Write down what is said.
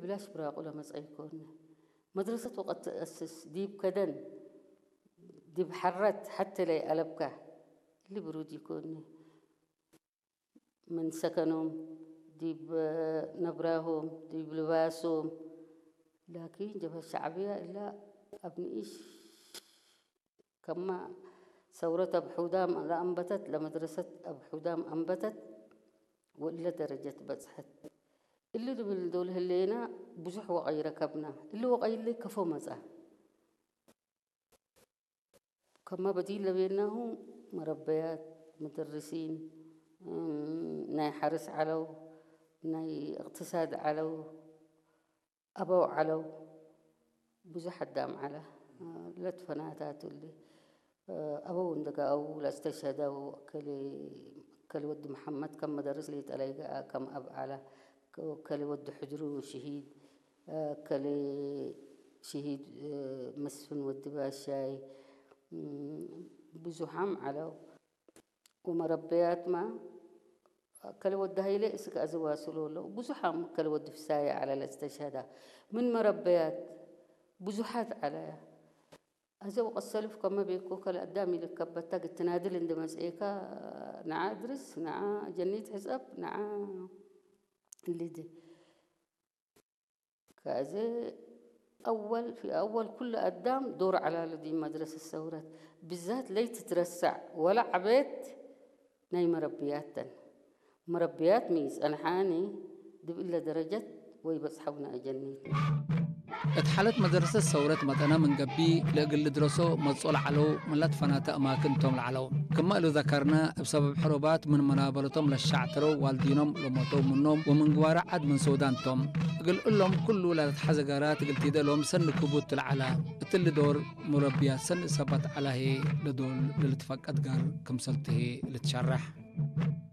ብላሽ ብራቑ ለመጸ ይኮኒ። መድረሰት ወቐት ትኣስስ ዲብ ከደን ዲብ ሐረት ሐቴ ለይኣለብካ እሊ ብሩድ ይኮኒ። ምን ሰከኖም ዲብ ነብራሆም ዲብ ልባሶም። ላኪን ጀብሀት ሸዕብያ እላ ኣብ ንኢሽ ከማ ሰውረት ኣብ ሑዳም ለኣንበተት ለመድረሰት ኣብ ሑዳም ኣንበተት ወእለ ደረጀት በጽሐት። እሊ ድብል ዶል ህሌና ብዙሕ ወቐይ ረከብና። እሊ ወቐይ እሊ ከፎ መጻ። ከማ በዲን ለቤናሁ መረበያት፣ መደርሲን፣ እም፣ ናይ ሐርስ ዐለው፣ ናይ እቅትሳድ ዐለው፣ ኣበው ዐለው፣ ብዙሕ ኣዳም ዐለ። ለትፈናታቱ እሊ ኣበው እንደጋአው ለእስተሸደው ከሊ ከሊ ወዲ መሐመድ ከም መደርስ ሊጠለይ ገአ ከም አብ ዐለ። ከሊ ወዲ ሕድሩ ሽሂድ ከሊ ሽሂድ መስፍን ወዲ ባሻይ ብዙሓም ዐለው። ወመረበያትማ ከሊ ወዲ ሀይሌ እስክ አዘዋስሎ ለው ብዙሓም ከሊ ወዲ ፍሳየ ዐለ ለእስተሸዳ ምን መረበያት ብዙሓት ዐለያ። አዘው ቀሰልፍ ከመ ቤኮ ከለ አዳም ኢልከበታ ግትናድል እንደ መጽኤካ ነዓ እድርስ ነዓ ጀኒት ሕጸብ ነዓ እልዲ ከዚ አወል ፊ አወል ኩሉ አዳም ዶር ዐላሉ ዲ መድረሰ ሰውረት ብዛት ለይትትረሳዕ ወላ ዐቤት ናይ መረብያተን መረብያት ሚ ጸንሓኒ ድብለ ደረጀት ወይ በጽሐውና እጀኒት። እት ሓለት መደረሰት ሰውረት መጠና ምን ገቢ ለእግል ልድረሶ መጽኦ ለዐለው ምን ለትፈናተ እማክን ቶም ለዐለው። ክመ እሉ ዘከርነ እብ ሰበብ ሕሩባት ምን መናበረቶም ለሻዕተረው ዋልዲኖም ለሞተው ምኖም ወምን ግዋረ ዐድ ምን ሱዳን ቶም። እግል እሎም ኩሉ ለልትሐዘ ገራት እግል ቲደሎም ሰኒ ክቡድ ትለዐለ። እትሊ ዶር ሙረብያት ሰኒ እሰባት ዐለ ህዬ ለዶል ለልትፈቀድ ገር ክምሰልቱ ህዬ ልትሸረሕ።